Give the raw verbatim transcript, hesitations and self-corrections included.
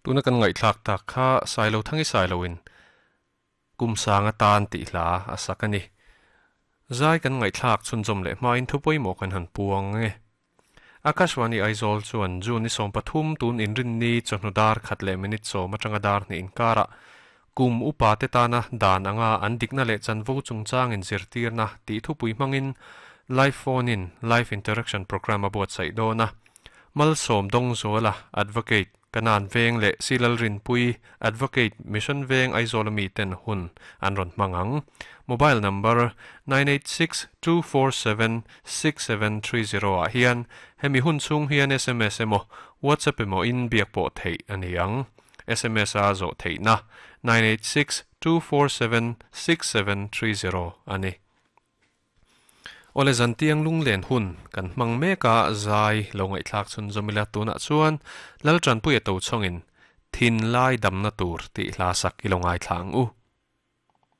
Tuna kan ngaihthlak tak kha Sailo thangi Sailoin kum sanga tan tih hla a sak ani. Zai kan ngaihthlak chhunzawm leh hmain thu pawimawh kan han puang nge. Akashwani Aizawl chuan June ni sawm pathum tun inrin ni chawhnu dar khat leh minute sawm atanga dar hnih inkara kum upa te tana dan anga an dikna leh chanvo chungchang in zirtirna tih thupui hmangin live phone in live interaction program a buatsaih dawn a. Malsawm dawng zuala advocate kanan veng leh silal rinpui advocate mission veng Aizawl mi ten hun an rawn hmang ang. Mobile number nine eight six two four seven six seven three zero ah hian hemi hun chhung hian S M S emaw WhatsApp emaw in biak pawh theih ani ang. S M S a zawh theihna nine eight six two four seven six seven three zero ani. Ole zantiang lunglen hun kan hmang meka zai lo ngaihthlak chhunzawm ila tunah chuan Laltanpuia to chhawngin thin lai damna tur tih hla sak i lo ngaithla ang u.